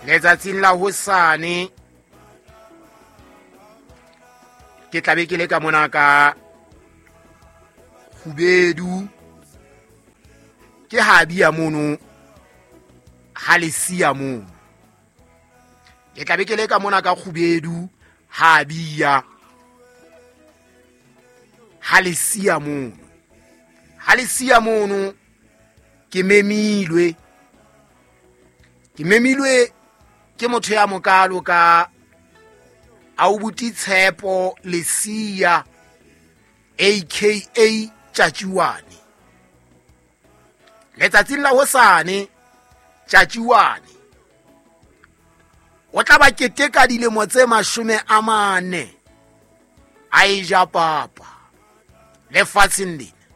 Letsatsing la hosane ke tlabe ke le ka mona ka kgubedu, ke ha bia mono ha le siya mono. Ke tlabe ke le ka mona ka kgubedu ha bia ha le siya mono. Ha le siya mono ke memilwe. Ke memilwe ke motho ya mokalo ka Aubuti Tshepo Lesia aka Tjatjiwane. Letsatsing la hosane Tjatjiwane o tla ba keteka dilemo tse 40 a e ja papa lefatsheng lena.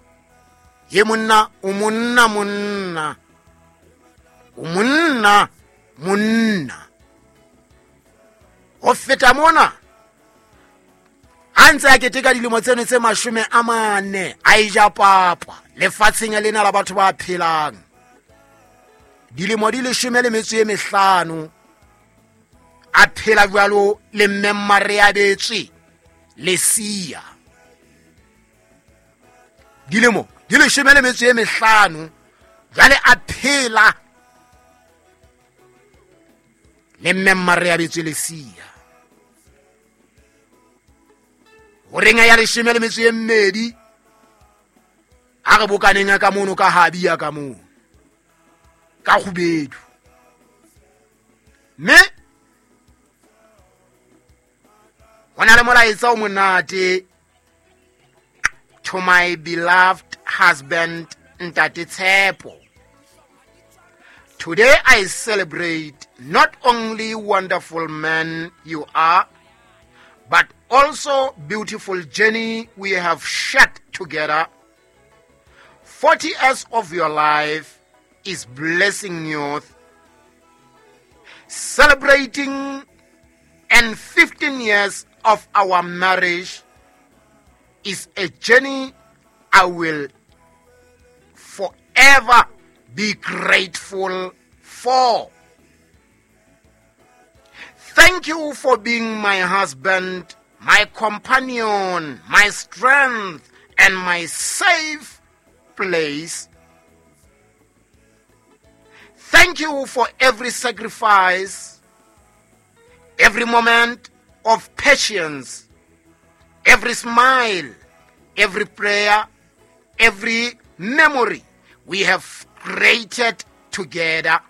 Ye monna o monna monna o monna monna. Ho feta mona a ntse a keteka dilemo tseno tse 40 a e ja papa lefatsheng lena la batho ba phelang. Dilemo di 15 a phela jwalo le mme Mmareabetswe Lesia. Dilemo di 15 jwale a phela le mme Mmareabetswe Lesia. Horeng ya 12 a re bokaneng ka mono ka habia ka mono ka kgubedu. Mme ho na le molaetsa o monate to my beloved husband Ntate Tshepo. Today I celebrate not only wonderful man you are, but also beautiful journey we have shared together. 40 years of your life is blessing youth, celebrating and 15 years of our marriage is a journey I will forever be grateful for. Thank you for being my husband, my companion, my strength, and my safe place. Thank you for every sacrifice, every moment of patience, every smile, every prayer, every memory we have created together.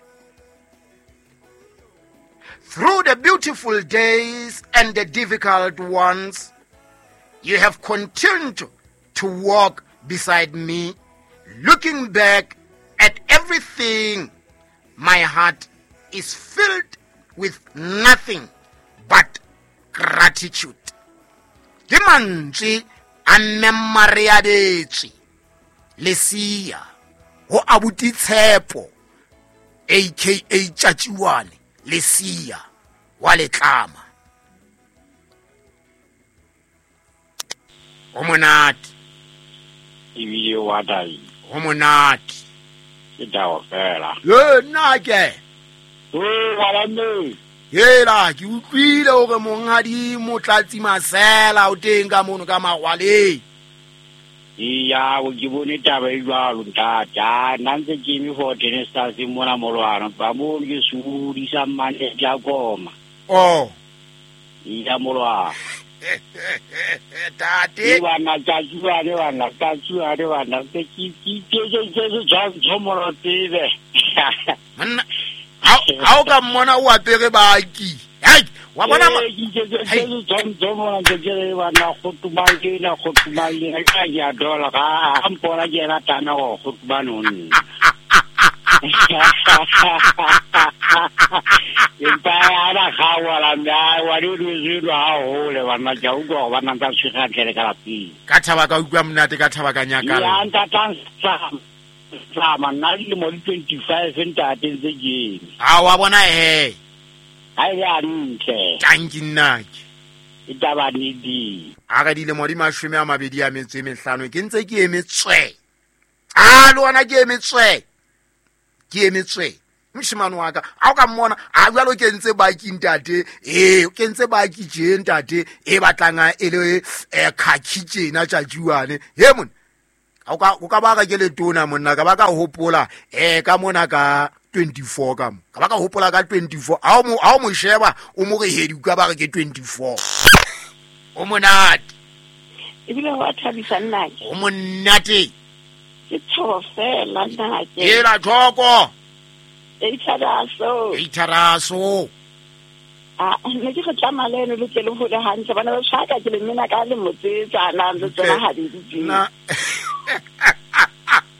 Through the beautiful days and the difficult ones, you have continued to walk beside me. Looking back at everything, my heart is filled with nothing but gratitude. Ke mantswe a mme Mmareabetswe Lesia ho abuti Tshepo aka Tjatjiwane Lesia wa Letlama. O monate. Ebile wa dai. O monate. Ke tao fela. Ye nna ke. O wa mme. Hela ke utlwile hore monghadi Motlatsi Masela o teng ka mono ka Magwaleng. Iya, o ke bone taba e jwalo ntate. Nna ntse ke eme for ten stars mona molwana. Ba mo ke sudisa mmane ja koma. Oh. Iya molwana. Tate. Bana tjatjiwane bana tjatjiwane bana ke ke ke ke ke molo tsebe. Monna ha o ka mmona o apere baki. Hei, wa bona ma ke ke tsomona ke ke bana khotumang ke na khotumang le ka ya dola ga mpona ke ra tana go khotumang o nna. Empa ana ga wa la nna wa di di ha hole bana ja utlwa go bana tsa tshega tlele ka lapeng. Ka thaba ka utlwa monate ka thaba ka nyakala. Ya ntatang sa sama nna dilemo di 25 ntate ntse ke eme. A wa bona he. Ha e le ntle. Tanki nnake. E taba ni di. A re dilemo di 25 ke ntse ke eme tswe. A le wona ke eme tswe. Ke eme tswe. Moshemane wa ka a o ka mmona a jalo ke ntse baki ntate, ee ke ntse baki tje ntate e batlang e le khakhi tjena tjatjuane. He monna o ka ba ka ke letona monna, ka ba ka hopola ka mona ka 24 ka mo ka ba ka hopola ka 24. A o mo sheba o mo re hedi ka ba re ke 24. O monate ebile wa thabisa nnake, o monate ke tsho fela nnake. Ela thoko e itharaso. A ne ke re tlama le eno le tle le hole hantle bana ba tshaka ke le mmena ka le motsetsana le tsona ha di di.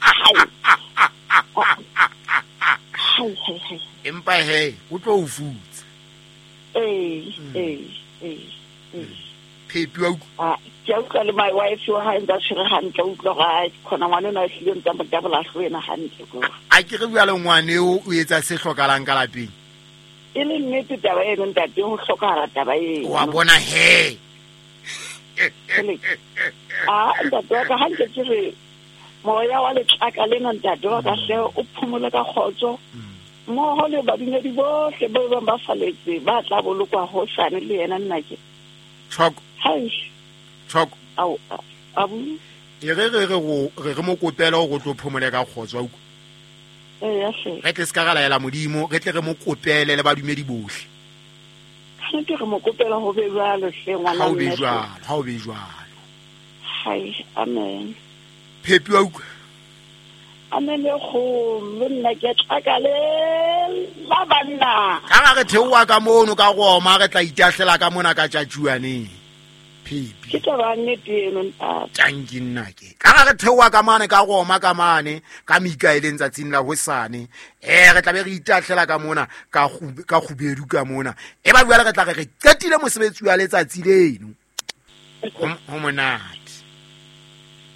Hai. Empa he o tlo o futsa. Ee. Phepi wa utlwa. Ke utlwa le my wife wa hae ntse a tshwere hantle, utlwa ga khona ngwana ona a hlile ntse a mo tabola hlwena hantle ko. A ke re bua le ngwane o etsa se hlokalang ka lapeng. E le nnete taba eno ntate, ho hlokahala taba eno. Wa bona he. A ntate wa ka hantle ke re moya wa letlaka lena ntate wa ka hle o phomole ka kgotso. Mmoho le badumedi bohle ba bang ba faletse ba tla bolokwa hosane le yena nnake. Choko. Hai. Choko. Au abu. E re re re mo kopela o tlo phomole ka kgotso wa utlwa. Ee hle. Re tle ska ra laela Modimo, re tle re mo kopele le badumedi bohle. Ke re mo kopela ho be jwalo hle ngwana. Ha o be jwalo, ha o be jwalo. Hai, amen. Phepi wa utlwa. Amen e kgolo nna ke tlaka le la banna. Ka re theoha ka mono ka Roma re tla itahlela ka mona ka tjatjuaneng. Phepi. Ke taba nnete eno ntate. Tanki nna ke. Ka re theoha ka mane ka Roma ka mane ka Mikaeleng tsatsing la hosane. Re tla be re itahlela ka mona ka kgubedu ka mona. E ba jwale re tla re qetile mosebetsi wa letsatsi leno. Ho monate.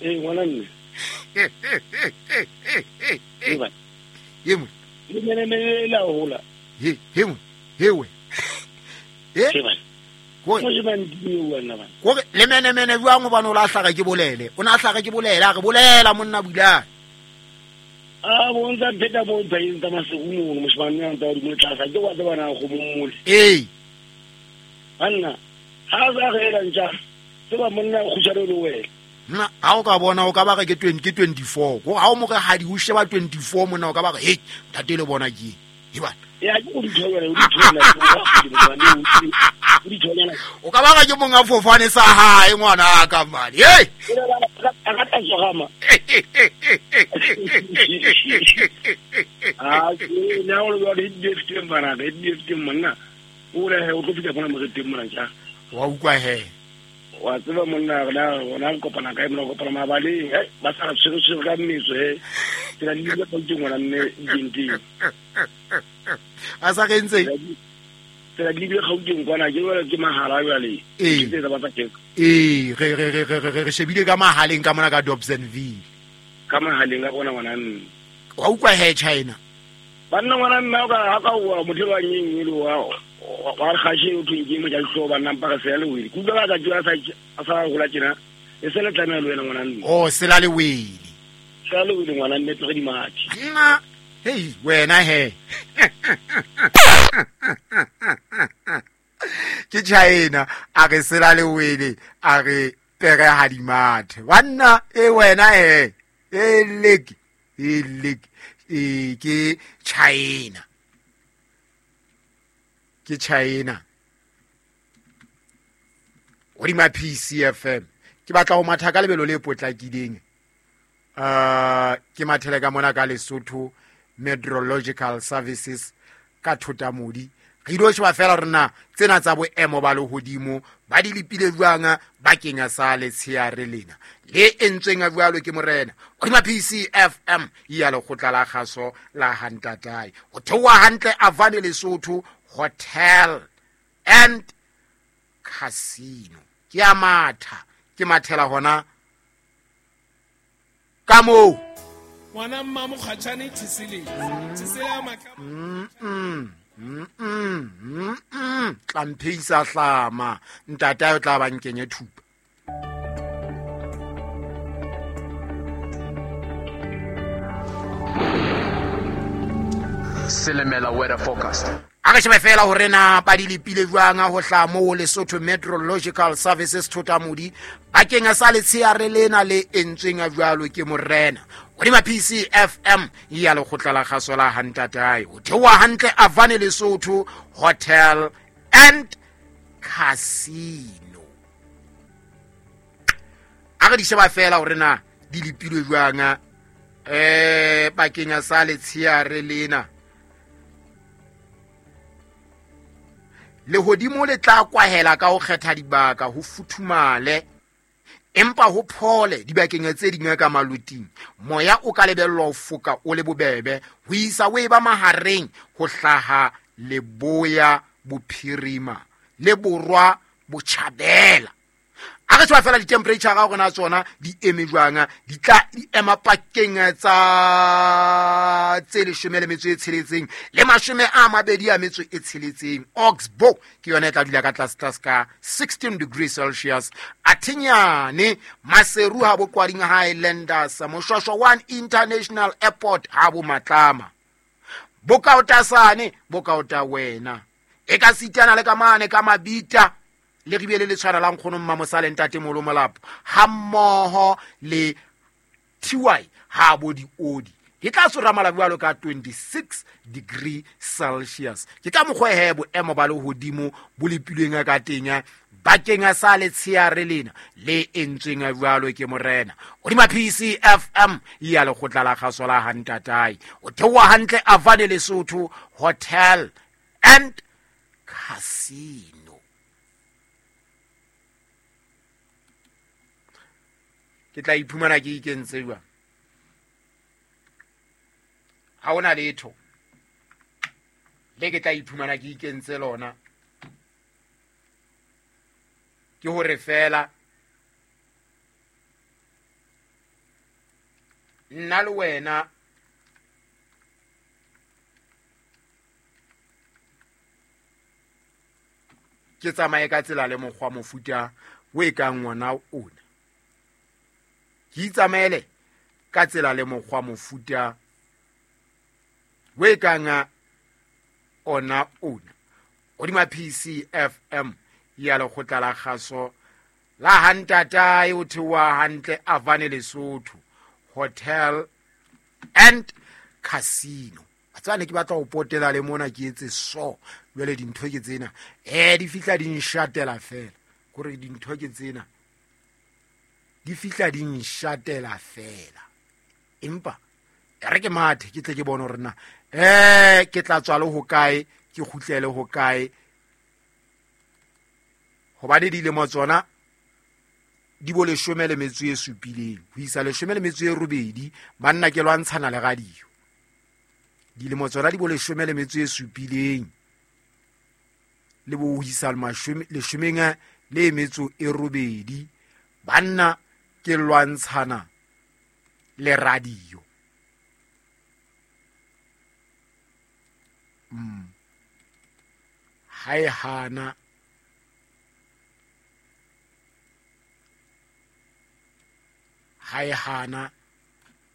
Ee ngwana mme. Ye mo. Le mene la hola. He mo. He we. Eh? Ko se ban di wena ba. Ko le mene mene jwang o bana o la hlaga ke bolele. O na hlaga ke bolele, a re bolela monna bula. A bo ntsa pheta mo tsaeng tsa masego mo moshimane a ntsa di mo tlasa ke wa tsebana go mo mmole. Ee. Banna ha za re la ntja. Tseba monna go tshware le wena. Nna ha o ka bona o ka ba re ke 20 ke 24. Go ha o mo re ha di o sheba 24 monna o ka ba re hey ntate le bona ke. He bana. Ya ke o di thola o di thola o di thola. O ka ba re ke monga fofane sa hae ngwana ka mane. Hey. A ka tla jama. Ah ke na o lo di di teng bana di teng monna. O re o tlo fitla bona mo re teng mona ja. Wa utlwa he. Wa tseba monna rena rona kopana kae mona kopana mabaleng ba sa re tshwere ka mmetso he tsela di le ka teng ngwana mme dinteng a sa re ntse tsela di le Gauteng kwana ke jwale ke mahala jwale ke tse ba tsa teng ee re shebile ka mahaleng ka mona ka Dobsonville ka mahaleng ka bona ngwana mme wa utlwa he China banna ngwana mme o ka ha ka wa motho wa nyeng le wa wa khashi o thweng mo ja tlo ba nna mpaka se le wele ku ba ka jwa sa sa gola tjena e se le tlamela le wena ngwana mme o se la le wele sa le wele ngwana mme tlo di mathe nna hey wena he ke China a re se la le wele a re pere ha di mathe banna e wena he e lek e ke China ke China hodima PCFM ke batla ho matha ka lebelo le potlakileng ke mathele ka mona ka Lesotho Meteorological Services ka Thotamodi re ilo sheba fela rena tsena tsa boemo ba lehodimo ba di lepile jwang bakeng sa letsheare lena le entsweng a jwalo ke morena hodima PCFM ya lekgotla la kgaso la Hantatae ho theoha hantle Avane Lesotho Hotel and Casino ke a matha ke mathela hona ka moo ngwana mma mokgatshane tshisele tshisele maka tla mpheisa hlama ntata o tla ba nkenye thupa. Silimela weather forecast. A re shebe fela hore na ba di lepile jwang ho hlaha moo Lesotho Meteorological Services Thotamodi bakeng sa letsheare lena le entsweng jwalo ke morena hodima PCFM ya lekgotla la kgaso la Hantatae ho theoha hantle Avane Lesotho Hotel and Casino. A re di sheba fela hore na di lepilwe jwang bakeng sa letsheare lena. Lehodimo le tla kwahela ka ho kgetha dibaka ho futhumale empa ho phole dibakeng tse ding ka maluting. Moya o ka lebellwa ho foka o le bobebe ho isa o eba mahareng ho hlaha leboya bophirima le borwa botjhabela. A re tswa fela di-temperature ga rona tsona di eme jwang, di tla di ema pakeng tsa tse 16 le 26. Oxbow ke yona e tla dula ka tlase tlase ka 16 degrees Celsius. Athinyane Maseru ha bo Kwading Highlanders, Moshwashwa 1 International Airport ha bo Matlama, Bokaotasane bokaota wena e ka sitana le ka mane ka Mabita le ribele le tshwana la nkgono Mmamosale ntate Molo Molapo ha mmoho le TY ha bo diodi di tla soramala jwalo ka 26 degree Celsius. Ke ka mokgwa he boemo ba lehodimo bo lepilweng ka teng bakeng sa letsheare lena le entsweng jwalo ke morena hodima PCFM ya lekgotla la kgaso la Hantatae o theoha hantle Avane Lesotho Hotel and Casino. Ke tla iphumana ke ikentse jwang? Ha hona letho le ke tla iphumana ke ikentse lona, ke hore fela nna le wena ke tsamaye ka tsela le mokgwa mofuta o e kang wona ona. Ke itsamaele ka tsela le mokgwa mofuta o e kang ona ona hodima PCFM ya lekgotla la kgaso la Hantatae o theoha hantle Avane Lesotho Hotel and Casino. Tsane ke batla ho potela le mona ke etse so jwale dintho ke tsena di fihla di nshatela fela kore dintho ke tsena di fihla di nshatela fela, empa re ke mathe ke tle ke bone hore na ke tla tswa le hokae ke kgutlele hokae, hobane dilemo tsona di bo 17 ho isa 18 banna ke lwantshana le radio. Dilemo tsona di bo 17 le bo ho isa 18 banna ke lwantshana le radio. Ha e hana ha e hana